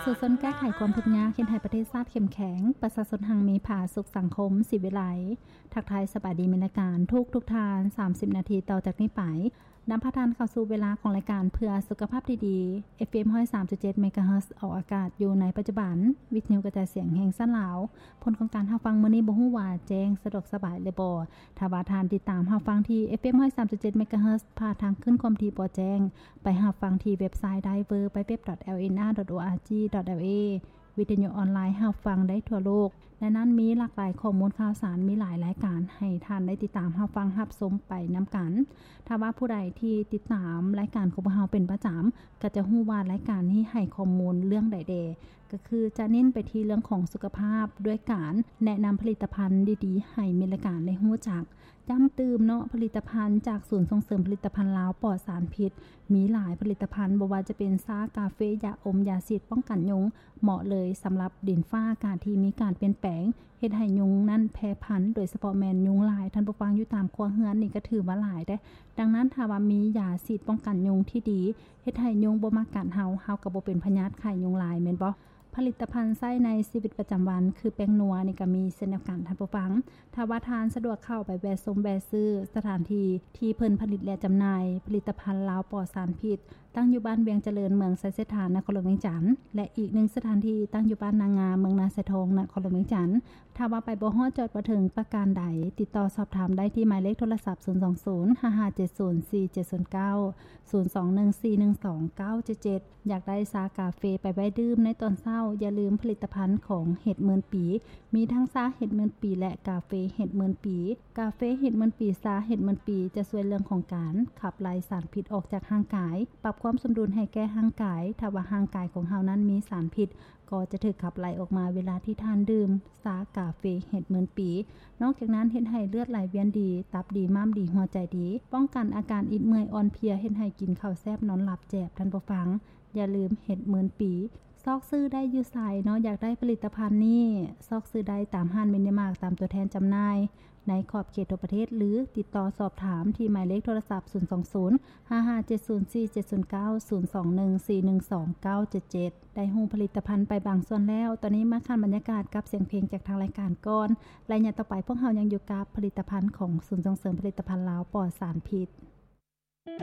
ປະຊາຊົນແກ້ໄຂຄວາມທຸກຍາກ ເຮັດໃຫ້ປະເທດຊາດເຂັ້ມແຂງ, ປະຊາຊົນຮັ່ງມີຜາສຸກ, ສັງຄົມສີວິໄລ. ທັກທາຍສະບາຍດີແມ່ນລາຍການທຸກໆທ່ານ. ສາມສິບນາທີຕໍ່ຈາກນີ້ໄປ, ນຳພາທ່ານເຂົ້າສູ່ເວລາຂອງລາຍການເພື່ອສຸຂະພາບທີ່ດີ ເອັຟເອັມ ຮ້ອຍສາມຈຸດເຈັດ ເມກາເຮີດ ອອກອາກາດຢູ່ໃນປັດຈຸບັນ, ວິທະຍຸກະຈາຍສຽງແຫ່ງຊາດລາວ. ຜົນຂອງການຮັບຟັງມື້ນີ້ບໍ່ຮູ້ວ່າແຈ້ງສະດວກສະບາຍຫຼືບໍ່. ຖ້າວ່າທ່ານຕິດຕາມຮັບຟັງທີ່ ເອັຟເອັມ ຮ້ອຍສາມຈຸດເຈັດ ເມກາເຮີດ ຜ່ານທາງຄື້ນຄວາມຖີ່ບໍ່ແຈ້ງ, ໄປຮັບຟັງທີ່ເວັບໄຊ www.lnr.org.la ວິທະຍຸອອນລາຍຮັບຟັງໄດ້ທົ່ວໂລກ. ໃນນັ້ນມີຫຼາກຫຼາຍຂໍ້ມູນຂ່າວສານ, ມີຫຼາຍລາຍການໃຫ້ທ່ານໄດ້ຕິດຕາມຮັບຟັງຮັບຊົມໄປນຳກັນ. ຖ້າວ່າຜູ້ໃດທີ່ຕິດຕາມລາຍການຂອງພວກເຮົາເປັນປະຈຳ ກໍຈະຮູ້ວ່າລາຍການນີ້ໃຫ້ຂໍ້ມູນເລື່ອງໃດແດ່, ກໍຄືຈະເນັ້ນໄປທີ່ເລື່ອງຂອງສຸຂະພາບ ດ້ວຍການແນະນຳຜະລິດຕະພັນດີໆໃຫ້ແມ່ນລາຍການໄດ້ຮູ້ຈັກ. ຢ້ຳຕື່ມເນາະ, ຜະລິດຕະພັນຈາກສູນສົ່ງເສີມຜະລິດຕະພັນລາວປອດສານພິດ ມີຫຼາຍຜະລິດຕະພັນ, ບໍ່ວ່າຈະເປັນຊາ, ກາເຟ, ຢາອົມ, ຢາສີດປ້ອງກັນຍຸງ, ເໝາະເລີຍສຳລັບດິນຟ້າອາກາດທີ່ມີການປ່ຽນແປງ, ເຮັດໃຫ້ຍຸງນັ້ນແຜ່ພັນ, ໂດຍສະເພາະແມ່ນຍຸງລາຍ. ທ່ານຜູ້ຟັງ, ຢູ່ຕາມຄົວເຮືອນນີ້ກໍຖືວ່າຫຼາຍເດ້. ດັ່ງນັ້ນ, ຖ້າວ່າມີຢາສີດປ້ອງກັນຍຸງທີ່ດີ, ເຮັດໃຫ້ຍຸງບໍ່ມາກັດເຮົາ, ເຮົາກໍບໍ່ເປັນພະຍາດໄຂ້ຍຸງລາຍ, ແມ່ນບໍ່? ຜະລິດຕະພັນໃຊ້ໃນຊີວິດປະຈຳວັນ ຄືແປ້ງນົວນີ້ກໍມີເຊັ່ນດຽວກັນ, ທ່ານຜູ້ຟັງ. ຖ້າວ່າທ່ານສະດວກເຂົ້າໄປແວະຊົມແວະຊື້ສະຖານທີ່ທີ່ເພິ່ນຜະລິດ ແລະ ຈຳໜ່າຍຜະລິດຕະພັນລາວປອດສານພິດ, ຕັ້ງຢູ່ບ້ານວຽງຈະເລີນ, ເມືອງໄຊເສດຖາ, ນະຄອນຫຼວງວຽງຈັນ ແລະ ອີກໜຶ່ງສະຖານທີ່ຕັ້ງຢູ່ບ້ານນາງາມ, ເມືອງນາຊາຍທອງ, ນະຄອນຫຼວງວຽງຈັນ. ຖ້າວ່າໄປບໍ່ຮອດຈຸດປະສົງປະການໃດ, ຕິດຕໍ່ສອບຖາມໄດ້ທີ່ໝາຍເລກໂທລະສັບ ສູນສອງສູນ ຫ້າຫ້າເຈັດສູນ ສີ່ເຈັດສູນເກົ້າ, ສູນສອງໜຶ່ງສີ່ໜຶ່ງສອງເກົ້າເຈັດເຈັດ. ຢາກໄດ້ຊາກາເຟໄປໄວ້ດື່ມໃນຕອນເຊົ້າ, ຢ່າລືມຜະລິດຕະພັນຂອງເຫັດໝື່ນປີ. ມີທັງຊາເຫັດໝື່ນປີ ແລະ ກາເຟເຫັດໝື່ນປີ. ກາເຟເຫັດໝື່ນປີ, ຊາເຫັດໝື່ນປີ ຈະຊ່ວຍເລື່ອງຂອງການຂັບໄລ່ສານພິດອອກຈາກຮ່າງກາຍ, ປັບຄວາມສົມດຸນໃຫ້ແກ່ຮ່າງກາຍ. ຖ້າວ່າຮ່າງກາຍຂອງເຮົານັ້ນມີສານພິດ, ກໍຈະຖືກຂັບໄລ່ອອກມາເວລາທີ່ທ່ານດື່ມຊາກາເຟເຫັດໝື່ນປີ. ນອກຈາກນັ້ນເຮັດໃຫ້ເລືອດໄຫຼວຽນດີ, ຕັບດີ, ມ້າມດີ, ຫົວໃຈດີ, ປ້ອງກັນອາການອິດເມື່ອຍອ່ອນເພຍ, ເຮັດໃຫ້ກິນເຂົ້າແຊບນອນຫຼັບແຈບ, ທ່ານຜູ້ຟັງ. ຢ່າລືມເຫັດໝື່ນປີ. ຊອກຊື້ໄດ້ຢູ່ໃສເນາະ? ຢາກໄດ້ຜະລິດຕະພັນນີ້ ຊອກຊື້ໄດ້ຕາມຮ້ານມິນິມາດ, ຕາມຕົວແທນຈຳໜ່າຍໃນຂອບເຂດທົ່ວປະເທດ ຫຼື ຕິດຕໍ່ສອບຖາມທີ່ໝາຍເລກໂທລະສັບ ສູນສອງສູນ ຫ້າຫ້າເຈັດສູນ ສີ່ເຈັດສູນເກົ້າ, ສູນສອງໜຶ່ງສີ່ໜຶ່ງສອງເກົ້າເຈັດເຈັດ. ໄດ້ຮູ້ຜະລິດຕະພັນໄປບາງສ່ວນແລ້ວ, ຕອນນີ້ມາຂັນບັນຍາກາດກັບສຽງເພງຈາກທາງລາຍການກ່ອນ. ໄລຍະຕໍ່ໄປພວກເຮົາຍັງຢູ່ກັບຜະລິດຕະພັນຂອງສູນສົ່ງເສີມຜະລິດຕະພັນລາວປອດສານພິດ.